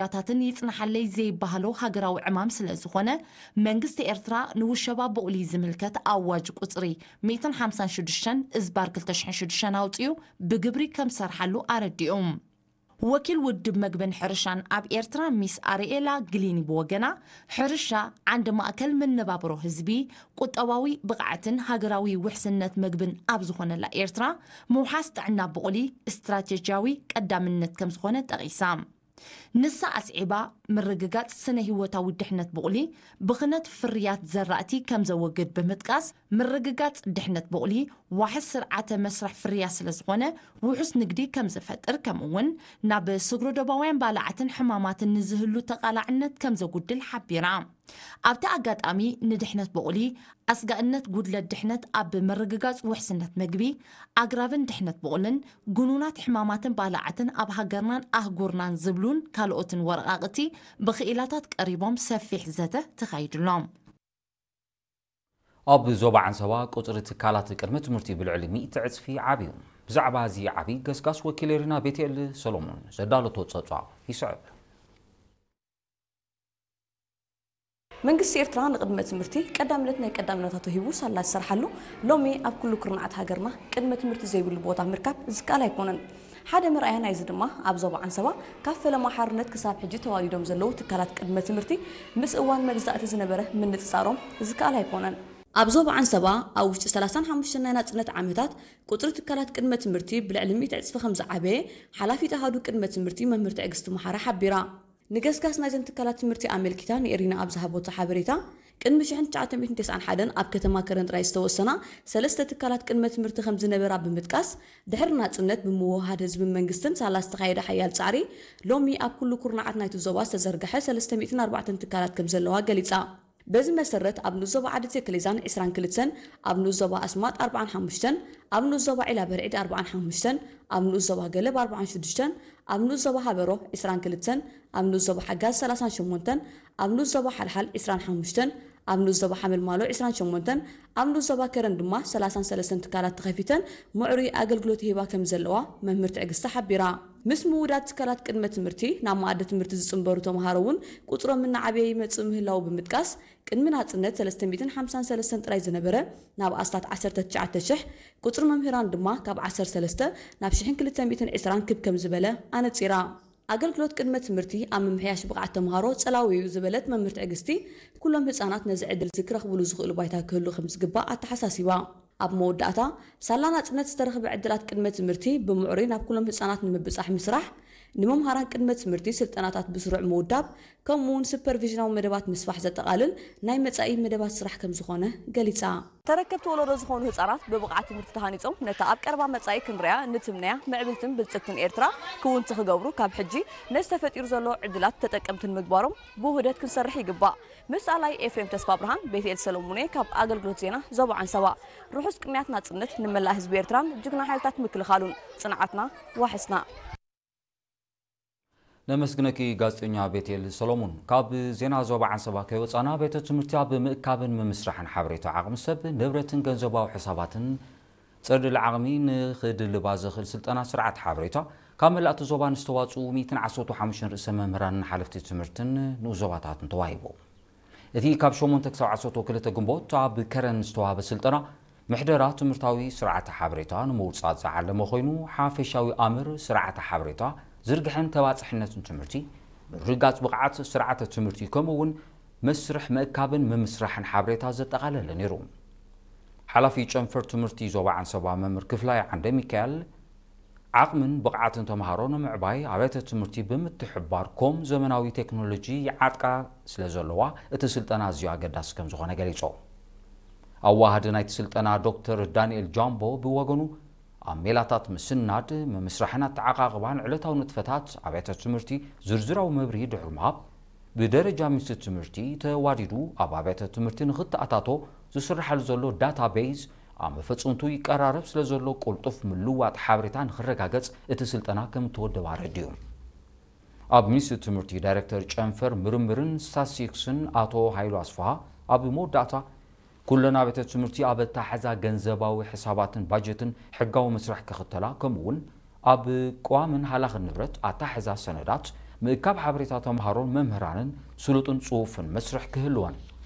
ያታትን ይጽናሓለይ ዘይበሃሎ ሃገራዊ ዕማም ስለ ዝኾነ፣ መንግስቲ ኤርትራ ንውሸባ ብቑሊ ዝምልከት ኣዋጅ ቁጽሪ ሚእትን ሓምሳን ሽዱሽተን እዝባር ክልተ ሽሕን ሽዱሽተን ኣውጺኡ ብግብሪ ከም ዝሰርሓሉ ኣረዲኡ። ወኪል ውድብ መግብን ሕርሻን ኣብ ኤርትራ ሚስ ኣርኤላ ግሊኒ ብወገና፣ ሕርሻ ዓንዲ ማእከል መነባብሮ ህዝቢ፣ ቁጠባዊ ብቕዓትን ሃገራዊ ውሕስነት መግብን ኣብ ዝኾነላ ኤርትራ፣ ምውሓስ ጥዕና ብቑሊ ስትራቴጂያዊ ቀዳምነት ከም ዝኾነ ጠቒሳ። ንሳ ኣስዒባ፣ ምርግጋጽ ስነ ህይወታዊ ድሕነት ብቑሊ ብኽነት ፍርያት ዘራእቲ ከም ዘወግድ ብምጥቃስ፣ ምርግጋጽ ድሕነት ብቑሊ ዋሕስ ስርዓተ መስርሕ ፍርያት ስለ ዝኾነ፣ ውሑስ ንግዲ ከም ዝፈጥር፣ ከምኡ እውን ናብ ስግረ ዶባውያን ባልዓትን ሕማማትን ንዝህሉ ተቓላዕነት ከም ዘጉድል ሓቢራ። ኣብቲ ኣጋጣሚ፣ ንድሕነት ብቑሊ፣ ኣስጋእነት ጉድለት ድሕነት ኣብ ምርግጋጽ ውሕስነት መግቢ፣ ኣግራብን ድሕነት ብቑልን፣ ግኑናት ሕማማትን ባልዓትን ኣብ ሃገርናን ኣህጉርናን ዝብሉን ካልኦትን ወረቓቕቲ ብክኢላታት ቀሪቦም ሰፊሕ ዘተ ተኻይድሎም። ኣብ ዞባ ዓንሰባ ቁጽሪ ትካላት ቅድመ ትምህርቲ ብልዕሊ ሚእቲ ዕጽፊ ዓብዩ። ብዛዕባ እዚ ዓብዪ ገስጋስ ወኪል ኤሪና ቤትኤል ሰሎሞን ዘዳለቶ ጸብጻብ ይስዕብ። መንግስቲ ኤርትራ ንቅድመ ትምህርቲ ቀዳምነት ናይ ቀዳምነታቱ ሂቡ ሳላ ዝሰርሓሉ፣ ሎሚ ኣብ ኩሉ ኩርናዓት ሃገርና ቅድመ ትምህርቲ ዘይብሉ ቦታ ምርካብ ዝከኣል ኣይኮነን። ሓደ መርኣያ ናይዚ ድማ ኣብ ዞባ ዓንሰባ ካብ ፈለማ ሓርነት ክሳብ ሕጂ ተዋዲዶም ዘለዉ ትካላት ቅድመ ትምህርቲ ምስ እዋን መግዛእቲ ዝነበረ ምንጽጻሮም ዝከኣል ኣይኮነን። ኣብ ዞባ ዓንሰባ ኣብ ውሽጢ ሰላሳን ሓሙሽተን ናይ ናጽነት ዓመታት ቁጽሪ ትካላት ቅድመ ትምህርቲ ብልዕሊ ሚእቲ ዕጽፊ ከም ዝዓበየ ሓላፊት ኣሃዱ ቅድመ ትምህርቲ መምህር ትዕግስቲ መሓራ ሓቢራ። ንገስጋስ ናይዘን ትካላት ትምህርቲ ኣመልኪታ ንኤሪና ኣብ ዝሃበቶ ሓበሬታ፣ ቅድሚ ሽሕን ትሽዓተ ሚእትን ተስዓን ሓደን ኣብ ከተማ ከረን ጥራይ ዝተወሰና ሰለስተ ትካላት ቅድመ ትምህርቲ ከም ዝነበራ ብምጥቃስ፣ ድሕሪ ናጽነት ብምውህሃድ ህዝብን መንግስትን ሳላ ዝተኻየደ ሓያል ጻዕሪ፣ ሎሚ ኣብ ኩሉ ኩርናዓት ናይቲ ዞባ ዝተዘርግሐ ሰለስተ ሚእትን ኣርባዕተን ትካላት ከም ዘለዋ ገሊጻ። በዚ መሰረት፣ ኣብ ንኡስ ዞባ ዓዲ ቴክሌዛን ዕስራን ክልተን፣ ኣብ ንኡስ ዞባ ኣስማጥ ኣርባዓን ሓሙሽተን፣ ኣብ ንኡስ ዞባ ዒላ በርዒድ ኣርባዓን ሓሙሽተን፣ ኣብ ንኡስ ዞባ ገለብ ኣርባዓን ሽዱሽተን፣ ኣብ ንኡስ ዞባ ሃበሮ ዕስራን ክልተን፣ ኣብ ንኡስ ዞባ ሓጋዝ ሰላሳን ሸሞንተን፣ ኣብ ንኡስ ዞባ ሓልሓል ዕስራን ሓሙሽተን፣ ኣብ ንኡስ ዞባ ሓመልማሎ ዕስራን ሸሞንተን፣ ኣብ ንኡስ ዞባ ከረን ድማ ሰላሳን ሰለስተን ትካላት ተኸፊተን ምዕሩይ ኣገልግሎት ይህባ ከም ዘለዋ መምህር ትዕግስቲ ሓቢራ። ምስ ምውዳድ ትካላት ቅድመ ትምህርቲ ናብ መኣዲ ትምህርቲ ዝጽንበሩ ተምሃሮ እውን ቁጽሮም እናዓበየ ይመጽእ ምህላዉ ብምጥቃስ፣ ቅድሚ ናጽነት ሰለስተ ሚእትን ሓምሳን ሰለስተን ጥራይ ዝነበረ ናብ ኣስታት ዓሰርተ ትሽዓተ ሽሕ፣ ቁጽሪ መምህራን ድማ ካብ ዓሰርተ ሰለስተ ናብ ሽሕን ክልተ ሚእትን ዕስራን ክብ ከም ዝበለ ኣነጺራ። ኣገልግሎት ቅድመ ትምህርቲ ኣብ ምምሕያሽ ብቕዓት ተምሃሮ ጸላዊ እዩ ዝበለት መምህር ትዕግስቲ፣ ኩሎም ህጻናት ነዚ ዕድል እዚ ክረኽብሉ ዝኽእሉ ባይታ ክህሉ ከም ዝግባእ ኣተሓሳሲባ። ኣብ መወዳእታ፣ ሳላ ናጽነት ዝተረኽበ ዕድላት ቅድመ ትምህርቲ ብምዕሩይ ናብ ኩሎም ህጻናት ንምብጻሕ ምስራሕ፣ ንመምሃራን ቅድመ ትምህርቲ ስልጠናታት ብስሩዕ ምውዳብ፣ ከምኡ እውን ሱፐርቪዥናዊ መደባት ምስፋሕ ዘጠቓልል ናይ መጻኢ መደባት ስራሕ ከም ዝኾነ ገሊጻ። ተረከብቲ ወለዶ ዝኾኑ ህጻናት ብብቕዓት ትምህርቲ ተሃኒጾም ነታ ኣብ ቀረባ መጻኢ ክንሪኣ ንትምነያ ምዕብልትን ብልጽግትን ኤርትራ ክውንቲ ክገብሩ ካብ ሕጂ ነዚ ተፈጢሩ ዘሎ ዕድላት ተጠቀምቲ ንምግባሮም ብውህደት ክንሰርሕ ይግባእ። ምስ ኣላይ ኤፍሬም ተስፋብርሃን ቤትኤል ሰሎሙኔ ካብ ኣገልግሎት ዜና ዞባ ዓንሰባ። ርሑስ ቅንያት ናጽነት ንመላእ ህዝቢ ኤርትራን ጅግና ሓይልታት ምክልኻሉን። ጽንዓትና ዋሕስና። ነመስግነኪ ጋዜጠኛ ቤትኤል ሰሎሙን። ካብ ዜና ዞባ ዓንሰባ ከይወጻና፣ ቤተ ትምህርቲ ኣብ ምእካብን ምምስራሕን ሓበሬታ ዓቕሚ ሰብ፣ ንብረትን ገንዘባዊ ሕሳባትን ጸድሊ ዓቕሚ ንኽድልባ ዘኽእል ስልጠና ስርዓት ሓበሬታ ካብ መላእቲ ዞባ ንዝተዋጽኡ ሚእትን ዓሰርተ ሓሙሽተን ርእሰ መምህራንን ሓለፍቲ ትምህርትን ንኡስ ዞባታትን ተዋሂቡ። እቲ ካብ ሸሞንተ ክሳብ ዓሰርተ ክልተ ግንቦት ኣብ ከረን ዝተዋህበ ስልጠና ምሕደራ ትምህርታዊ ስርዓተ ሓበሬታ ንምውጻእ ዝዓለመ ኮይኑ፣ ሓፈሻዊ ኣምር ስርዓተ ሓበሬታ ዝርግሐን ተባጻሕነትን ትምህርቲ ምርግጋጽ ብቕዓት ስርዓተ ትምህርቲ ከምኡ እውን መስርሕ ምእካብን ምምስራሕን ሓበሬታ ዘጠቓለለ ነይሩ። ሓላፊ ጨንፈር ትምህርቲ ዞባ ዓንሰባ መምህር ክፍላይ ዓንደ ሚካኤል፣ ዓቕምን ብቕዓትን ተምሃሮ ንምዕባይ ኣብያተ ትምህርቲ ብምትሕብባር ኮም ዘመናዊ ቴክኖሎጂ ይዓጥቃ ስለ ዘለዋ እቲ ስልጠና ኣዝዩ ኣገዳሲ ከም ዝኾነ ገሊጹ። ኣዋሃዲ ናይቲ ስልጠና ዶክተር ዳንኤል ጃምቦ ብወገኑ፣ ኣብ ሜላታት ምስናድ፣ ምምስራሕን ኣተዓቓቕባን ዕለታዊ ንጥፈታት ኣብያተ ትምህርቲ ዝርዝራዊ መብርሂ ድሕሪ ምሃብ፣ ብደረጃ ሚኒስትሪ ትምህርቲ ተዋዲዱ ኣብ ኣብያተ ትምህርቲ ንኽተኣታቶ ዝስርሓሉ ዘሎ ዳታቤዝ ኣብ መፈጸምቱ ይቀራረብ ስለ ዘሎ ቅልጡፍ ምልውዋጥ ሓበሬታ ንኽረጋገጽ እቲ ስልጠና ከም እተወደበ ኣረዲኡ። ኣብ ሚኒስትሪ ትምህርቲ ዳይሬክተር ጨንፈር ምርምርን ስታትስቲክስን ኣቶ ሃይሉ ኣስፍሃ ኣብ መወዳእታ፣ ኩለን ኣብያተ ትምህርቲ ኣብ ኣታሓዛ ገንዘባዊ ሕሳባትን ባጀትን ሕጋዊ መስርሕ ክኽተላ፣ ከምኡ እውን ኣብ ቅዋምን ሃላኽን ንብረት ኣታሓዛ ሰነዳት ምእካብ ሓበሬታ ተምሃሮን መምህራንን ስሉጥን ጽፉፍን መስርሕ ክህልወን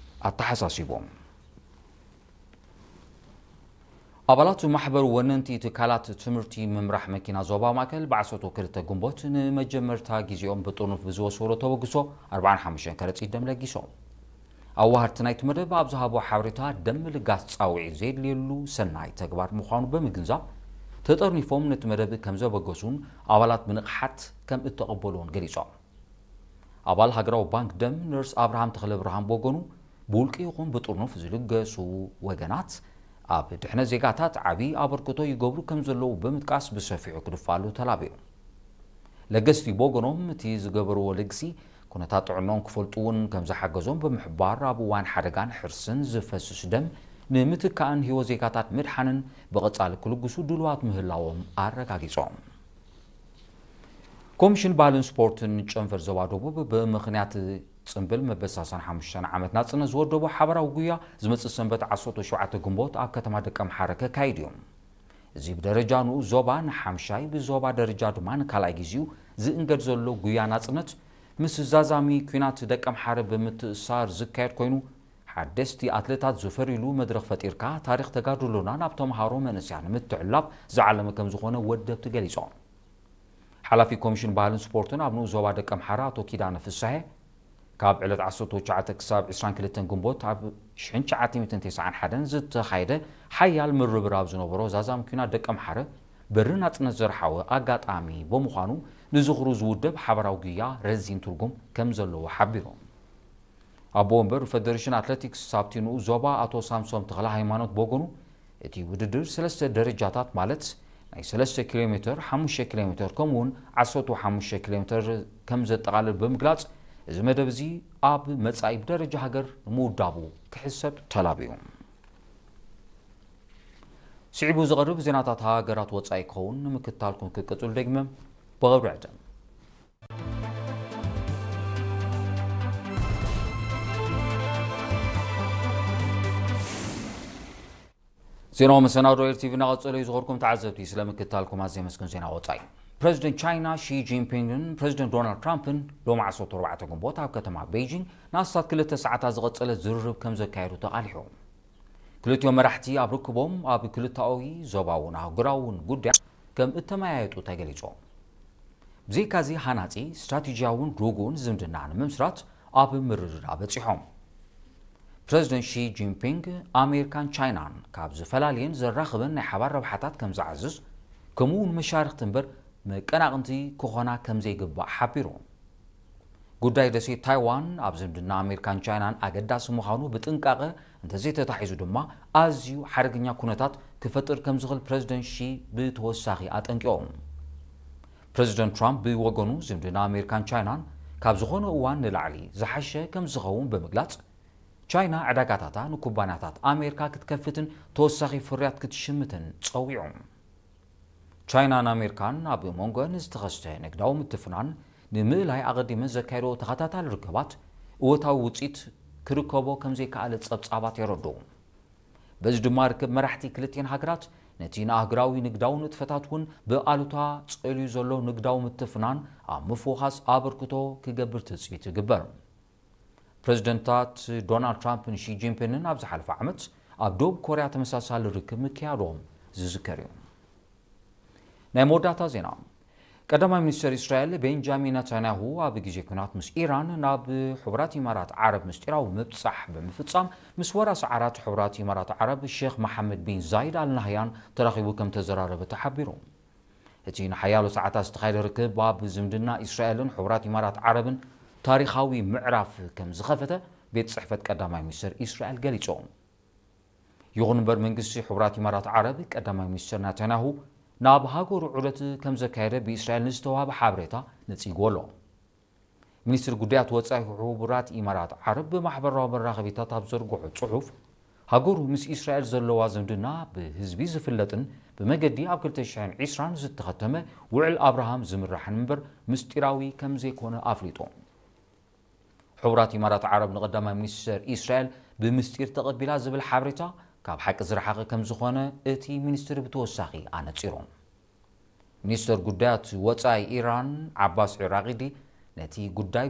ኣተሓሳሲቦም። ኣባላት ማሕበር ወነንቲ ትካላት ትምህርቲ ምምራሕ መኪና ዞባ ማእከል ብዓሰርተ ክልተ ግንቦት ንመጀመርታ ግዜኦም ብጥርኑፍ ብዝወሰዶ ተበግሶ ኣርባዓን ሓሙሽተን ከረጺት ደም ለጊሶም። ኣዋሃድቲ ናይቲ መደብ ኣብ ዝሃቦ ሓበሬታ፣ ደም ምልጋስ ጻውዒት ዘየድልየሉ ሰናይ ተግባር ምዃኑ ብምግንዛብ፣ ተጠርኒፎም ነቲ መደብ ከም ዘበገሱን ኣባላት ብንቕሓት ከም እተቐበልዎን ገሊጾም። ኣባል ሃገራዊ ባንክ ደም ነርስ ኣብርሃም ተኽለብርሃን ብወገኑ፣ ብውልቂ ይኹን ብጥርኑፍ ዝልገሱ ወገናት ኣብ ድሕነት ዜጋታት ዓቢ ኣበርክቶ ይገብሩ ከም ዘለዉ ብምጥቃስ፣ ብሰፊሑ ክድፋሉ ተላብዩ። ለገስቲ ብወገኖም፣ እቲ ዝገበርዎ ልግሲ ኩነታት ጥዕናኦም ክፈልጡ እውን ከም ዝሓገዞም ብምሕባር፣ ኣብ እዋን ሓደጋን ሕርስን ዝፈስስ ደም ንምትካእን ህይወት ዜጋታት ምድሓንን ብቐጻሊ ክልግሱ ድሉዋት ምህላዎም ኣረጋጊጾም። ኮሚሽን ባህልን ስፖርትን ጨንፈር ዞባ ደቡብ፣ ብምኽንያት ጽምብል መበል ሰላሳን ሓሙሽተን ዓመት ናጽነት ዝወደቦ ሓባራዊ ጉያ ዝመጽእ ሰንበት ዓሰርተ ሸውዓተ ግንቦት ኣብ ከተማ ደቀምሓረ ከካይድ እዩ። እዚ ብደረጃ ንኡስ ዞባ ንሓምሻይ፣ ብዞባ ደረጃ ድማ ንካልኣይ ግዜኡ ዝእንገድ ዘሎ ጉያ ናጽነት፣ ምስ ዛዛሚ ኲናት ደቀምሓረ ብምትእስሳር ዝካየድ ኮይኑ፣ ሓደስቲ ኣትሌታት ዝፈርዩሉ መድረኽ ፈጢርካ፣ ታሪኽ ተጋድሎና ናብ ተምሃሮ መንእሰያን ንምትሕልላፍ ዝዓለመ ከም ዝኾነ ወደብቲ ገሊጾም። ሓላፊ ኮሚሽን ባህልን ስፖርትን ኣብ ንኡስ ዞባ ደቀምሓረ ኣቶ ኪዳነ ፍሳሄ፣ ካብ ዕለት ዓሰርተ ትሽዓተ ክሳብ ዕስራን ክልተን ግንቦት ኣብ ሽሕን ትሽዓተ ሚእትን ተስዓን ሓደን ዝተኻየደ ሓያል ምርብራብ ዝነበሮ ዛዛሚ ኲናት ደቀምሓረ በሪ ናጽነት ዘርሓወ ኣጋጣሚ ብምዃኑ፣ ንዝኽሩ ዝውደብ ሓባራዊ ጉያ ረዚን ትርጉም ከም ዘለዎ ሓቢሮም። ኣቦ ወንበር ፈደሬሽን ኣትሌቲክስ ኣብቲ ንኡስ ዞባ ኣቶ ሳምሶም ተኽለ ሃይማኖት ብወገኑ፣ እቲ ውድድር ሰለስተ ደረጃታት፣ ማለት ናይ ሰለስተ ኪሎ ሜተር፣ ሓሙሽተ ኪሎ ሜተር ከምኡውን ዓሰርተ ሓሙሽተ ኪሎ ሜተር ከም ዘጠቓልል ብምግላጽ፣ እዚ መደብ እዚ ኣብ መጻኢ ብደረጃ ሃገር ንምውዳቡ ክሕሰብ ተላብዩ። ስዒቡ ዝቐርብ ዜናታት ሃገራት ወጻኢ ክኸውን ንምክትታልኩም ክቅጽሉ ደግመ ብኽብሪ ዕድም። ዜናዊ መሰናዶ ኤር ቲቪ እናቐጸለ እዩ። ዝኸርኩም ተዓዘብቲ፣ ስለ ምክትታልኩም ኣዝየ የመስግን። ዜና ወጻኢ። ፕረዚደንት ቻይና ሺ ጂንፒንግን ፕረዚደንት ዶናልድ ትራምፕን ሎሚ ዓሰርተ ኣርባዕተ ግንቦት ኣብ ከተማ ቤይጂንግ ንኣስታት ክልተ ሰዓታት ዝቐጸለ ዝርርብ ከም ዘካየዱ ተቓሊሑ። ክልቲኦም መራሕቲ ኣብ ርክቦም ኣብ ክልተኣዊ፣ ዞባውን ኣህጉራውን ጉዳያት ከም እተመያየጡ ተገሊጹ። ብዘይካዚ፣ ሃናጺ፣ ስትራቴጂያውን ርጉእን ዝምድና ንምምስራት ኣብ ምርድዳእ በጺሖም። ፕረዚደንት ሺ ጂንፒንግ፣ ኣሜሪካን ቻይናን ካብ ዝፈላልየን ዘራኽበን ናይ ሓባር ረብሓታት ከም ዝዓዝዝ፣ ከምኡ እውን መሻርኽቲ እምበር መቀናቕንቲ ክኾና ከም ዘይግባእ ሓቢሩ። ጉዳይ ደሴት ታይዋን ኣብ ዝምድና ኣሜሪካን ቻይናን ኣገዳሲ ምዃኑ ብጥንቃቐ እንተዘይተታሒዙ ድማ፣ ኣዝዩ ሓደገኛ ኩነታት ክፈጥር ከም ዝኽእል ፕረዚደንት ሺ ብተወሳኺ ኣጠንቂቖም። ፕረዚደንት ትራምፕ ብወገኑ፣ ዝምድና ኣሜሪካን ቻይናን ካብ ዝኾነ እዋን ንላዕሊ ዝሓሸ ከም ዝኸውን ብምግላጽ፣ ቻይና ዕዳጋታታ ንኩባንያታት ኣሜሪካ ክትከፍትን ተወሳኺ ፍርያት ክትሽምትን ጸዊዑ። ቻይናን ኣሜሪካን ኣብ መንጎአን ዝተኸስተ ንግዳዊ ምትፍናን ንምእላይ ኣቐዲመን ዘካየዶ ተኸታታሊ ርክባት እወታዊ ውጽኢት ክርከቦ ከም ዘይከኣለ ጸብጻባት የረድኡ። በዚ ድማ፣ ርክብ መራሕቲ ክልቲኤን ሃገራት ነቲ ንኣህጉራዊ ንግዳዊ ንጥፈታት እውን ብኣሉታ ጸልዩ ዘሎ ንግዳዊ ምትፍናን ኣብ ምፍውኻስ ኣበርክቶ ክገብር ትጽቢት ይግበር። ፕረዚደንታት ዶናልድ ትራምፕን ሺ ጂንፒንግን ኣብ ዝሓለፈ ዓመት ኣብ ደቡብ ኮርያ ተመሳሳሊ ርክብ ምክያዶም ዝዝከር እዩ። ናይ መወዳእታ ዜና። ቀዳማይ ሚኒስተር እስራኤል ቤንጃሚን ነታንያሁ፣ ኣብ ግዜ ኲናት ምስ ኢራን ናብ ሕቡራት ኢማራት ዓረብ ምስጢራዊ ምብጻሕ ብምፍጻም፣ ምስ ወራሲ ዓራት ሕቡራት ኢማራት ዓረብ ሼኽ መሓመድ ቢን ዛይድ ኣል ናህያን ተራኺቡ ከም ተዘራረበ ተሓቢሩ። እቲ ንሓያሎ ሰዓታት ዝተኻየደ ርክብ፣ ኣብ ዝምድና እስራኤልን ሕቡራት ኢማራት ዓረብን ታሪኻዊ ምዕራፍ ከም ዝኸፈተ ቤት ጽሕፈት ቀዳማይ ሚኒስተር እስራኤል ገሊጹ። ይኹን እምበር፣ መንግስቲ ሕቡራት ኢማራት ዓረብ፣ ቀዳማይ ሚኒስተር ናታንያሁ ናብ ሃገሩ ዑደት ከም ዘካየደ ብእስራኤል ንዝተዋህበ ሓበሬታ ነጺግዎ ኣሎ። ሚኒስትሪ ጉዳያት ወጻኢ ሕቡራት ኢማራት ዓረብ ብማሕበራዊ መራኸቢታት ኣብ ዘርግሖ ጽሑፍ፣ ሃገሩ ምስ እስራኤል ዘለዋ ዝምድና ብህዝቢ ዝፍለጥን ብመገዲ ኣብ ክልተ ሽሕን ዕስራን ዝተኸተመ ውዕል ኣብርሃም ዝምራሕን እምበር ምስጢራዊ ከም ዘይኮነ ኣፍሊጡ። ሕቡራት ኢማራት ዓረብ ንቀዳማይ ሚኒስተር እስራኤል ብምስጢር ተቐቢላ ዝብል ሓበሬታ ካብ ሓቂ ዝረሓቐ ከም ዝኾነ እቲ ሚኒስትሪ ብተወሳኺ ኣነጺሩ። ሚኒስተር ጉዳያት ወጻኢ ኢራን ዓባስ ዒራቂዲ፣ ነቲ ጉዳይ